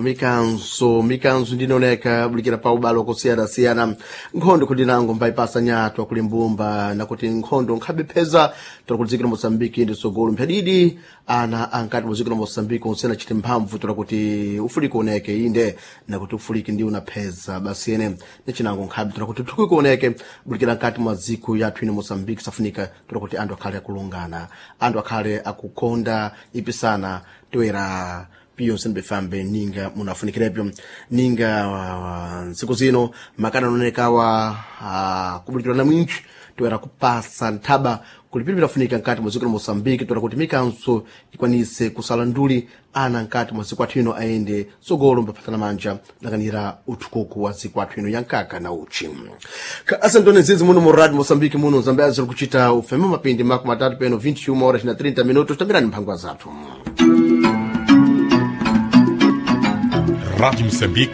Mikanzo, mikanzo ndinoneka bulikira pa ubalo kusiyana-siyana. Nkhondo kuti nango mbayipasa nyatwa kuli mbumba, nakuti nkhondo nkhabepheza tola kuti dziko la Moçambike ndi tsogolo mphadidi ana ankati mu dziko la Moçambike onsena chite mphamvu tola kuti ufuliki oneke, inde, nakuti ufuliki ndi unapheza basi ene nichinango nkhabe tola kuti thukuko oneke bulikira nkati mwa dziko yathu ino Moçambike. Safunika tola kuti anthu akhale akulungana, anthu akhale akukonda ipisana toera piyo sembefambe ninga munafunikirepo ninga ntsiku zino makana anonekawa kubulikira na mwintchi toera kupasa nthaba kulipiri pinafunika nkati mwa dziko la Moçambike toera kuti mikanso ikwanise kusala nduli ana nkati mwa dziko athu ino ayende tsogolo mbaphatana manja lakanira uthukuku wa dziko athu ino ya nkaka na uchi. Asantone zizi muno mu Radio Moçambike muno Zambia ziri kuchita ufeme mapindi 30 peno 21 horas na 30 minutos. Tambirani mphangwa zathu. Rádio Moçambique.